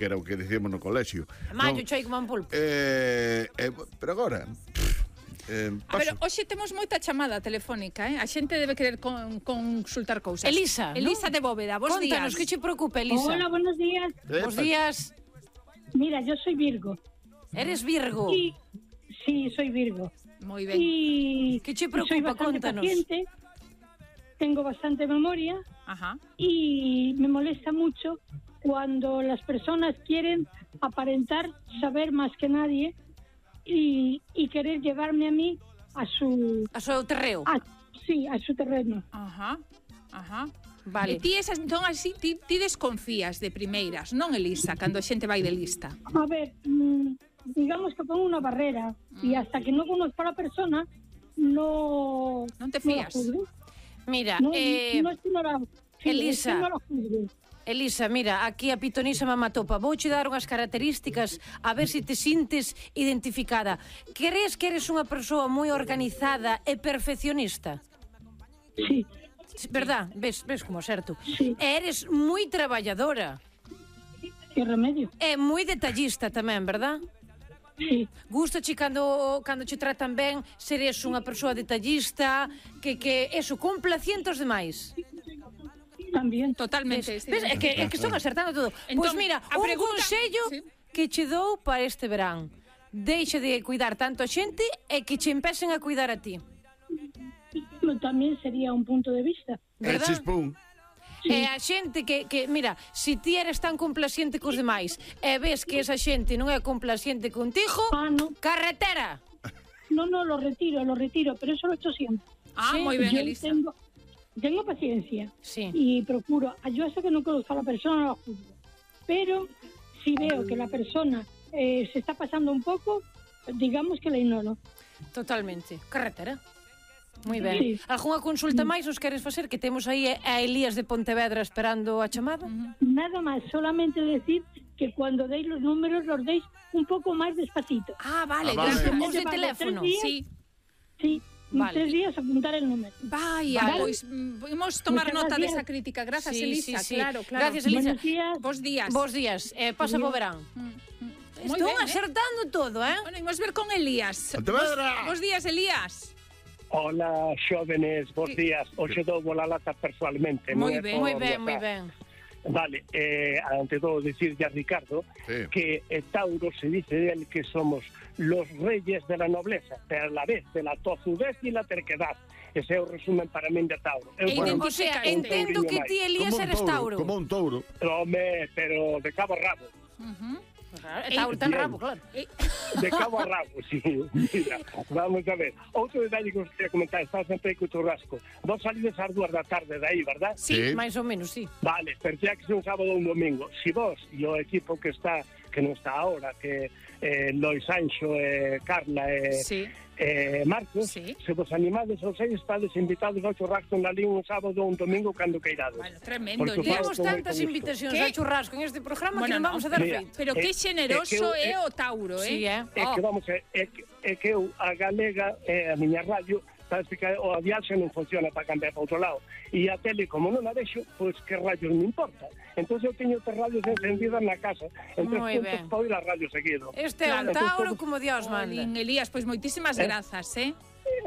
que era o que dicíamos no colexio. Mallo, choi como un pulpo. Pero agora... Pero hoxe temos moita chamada telefónica, A xente debe querer consultar cousas. Elisa, Elisa de Bóveda, bos días. Contanos, que che preocupa, Elisa? Hola, buenos días. Bos días. Mira, yo soy Virgo. Eres Virgo. Y, sí, soy Virgo. Moi ben. Y ¿Qué te soy preocupa? bastante Cuéntanos. paciente, tengo bastante memoria Ajá. y me molesta mucho cuando las personas quieren aparentar saber más que nadie y querer llevarme a mí a su... A seu terreo. Sí, a su terreno. Ajá. Ajá. Vale. E ti esas, entón, así, ti desconfías de primeiras, non, Elisa, cando a xente vai de lista? A ver, digamos que pongo una barrera y hasta que no conozco a la persona no... Non te fías? No la juzgo. Mira, No es que no la... Sí, Elisa. es que no la juzgo. Elisa, mira, aquí a pitonisa mamatopa. Vouche dar unhas características a ver se te sintes identificada. Crees que eres unha persoa moi organizada e perfeccionista? Sí. Verdad? Ves como certo. Sí. E eres moi traballadora. ¿Qué remedio? E moi detallista tamén, verdad? Sí. Gustache cando che tratan ben, seres unha persoa detallista, que eso, complaciente aos demais. También. Totalmente. Ves, é que están acertando todo. Pois Entón, mira, a un pregunta- consello Sí. que che dou para este verán. Deixa de cuidar tanto a xente e que che empecen a cuidar a ti. También sería un punto de vista. ¿Verdad? Chispún. E a xente que mira, se ti eres tan complaciente cos demais e ves que esa xente non é complaciente contigo, No. carretera. No, lo retiro, pero eso lo he hecho siempre. Ah, Sí, moi ben, Yo Elisa. tengo paciencia Sí. y procuro, yo hasta que no conozco a la persona no la juzgo. Pero si veo que la persona se está pasando un poco, digamos que la ignoro. Totalmente. Carretera. Moi ben. Sí. Algúnha consulta máis nos queres facer? Que temos aí a Elías de Pontevedra esperando a chamada. Nada más, solamente decir que cuando deis los números los deis un poco más despacito. Ah, vale. Ah, vale. Gracias. Os de teléfono. 3 días. Sí. Sí, Vale. 3 días apuntar el número. Vaya, Vale. pois imos tomar Muchas nota gracias. desa crítica. Grazas, Sí, Elisa, sí, sí. claro. Gracias, Elisa. Buenos días. Bos días. Bos días. Pasa bo verán. Moi Estou ben, acertando todo, Bueno, imos ver con Elías. Pontevedra. Bos días, Elías. Hola, xóvenes, bos días. Hoxe dou bola lata personalmente. Moi non é ben, por Moi ben, WhatsApp. moi ben. Vale, ante todo decirle a Ricardo Sí. que Tauro se dice de él que somos los reyes de la nobleza, pero a la vez de la tozudez y la terquedad. Ese é o resumen para min de Tauro. E Bueno, O sea, Identificaste. entendo que ti, Elías, eres Tauro. Como un touro. home, pero de cabo a rabo. Tauro ten rabo, claro. De cabo a rabo, sí. Mira, vamos a ver. Outro detalle que os queria comentar, está sempre aí co churrasco. Vos salides ás 2 da tarde de aí, verdad? Sí. máis ou menos, sí. Vale, pero xa que un sábado ou un domingo. Si vos e o equipo que non está ahora, que Lois Anxo, Carla e Sí. Marcos, Sí. se vos animades aos seis, estades invitados ao churrasco na Lín un sábado ou un domingo cando queirades. Bueno, tremendo, Porque Elías. Temos con moito tantas gusto. invitacións ¿Qué? a churrasco en este programa que Bueno, non vamos a dar Mira, feito. Pero que xeneroso é o Tauro, Sí, eh? É que vamos, é que eu, a Galega, a miña radio, sabes que o viaxe non funciona para cambiar para outro lado. E a tele, como non a vexo, pois que radios me importa. Entón eu teño tres radios encendidas na casa. En Moi 3 puntos ben. para oír a radio seguido. Este é un Claro. Tauro como Dios manda. Olín, Elías, pois moitísimas grazas, eh?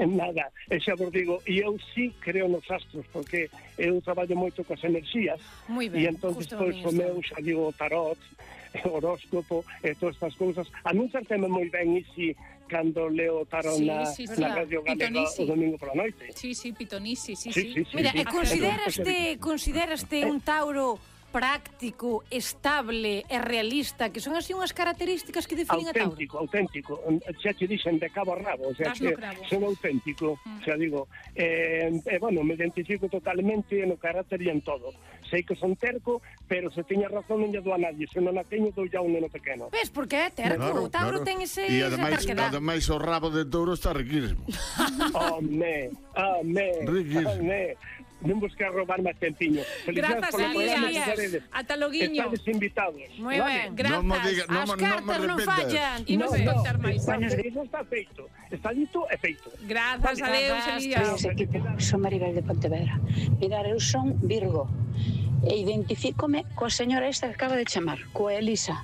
Nada, e xa vos digo, e eu sí creo nos astros, porque eu traballo moito coas enerxías, Moi ben, e entón justo pois a o min meu, xa digo, tarot, horóscopo, e todas estas cousas, a min certeme moi ben, e si cando leo tarot Sí, na, sí, na sí. radio galega Pitonisi. o domingo pola noite. Sí, sí, Pitonisi, sí, Sí, sí. sí, sí. Mira, e Sí. consideraste un Tauro práctico, estable e realista, que son así unhas características que definen a Tauro. Auténtico, xa te dixen de cabo a rabo, o sea, Das no que cravo. son auténtico, xa digo, bueno, me identifico totalmente no carácter e en todo. Sei que son terco, pero se teña razón non lle dou a nadie, se non a teño dou ya un neno pequeno. Ves, porque é terco, o Tauro ten ese E esa ademais, terquedad. ademais o rabo de touro está riquísimo. Home, Riquísimo. non vos quero robar máis tempiño. Grazas, Elías. Ata loguiño. Estades invitados. Moi ben. Grazas. Non me diga- non As me cartas non repitas. fallan. Imos contar máis. Eso está feito. Está dito e feito. Grazas, adeus, Elías. Ese equipo, son Maribel de Pontevedra. Mirar, eu son Virgo e identifícome coa señora esta que acaba de chamar, coa Elisa.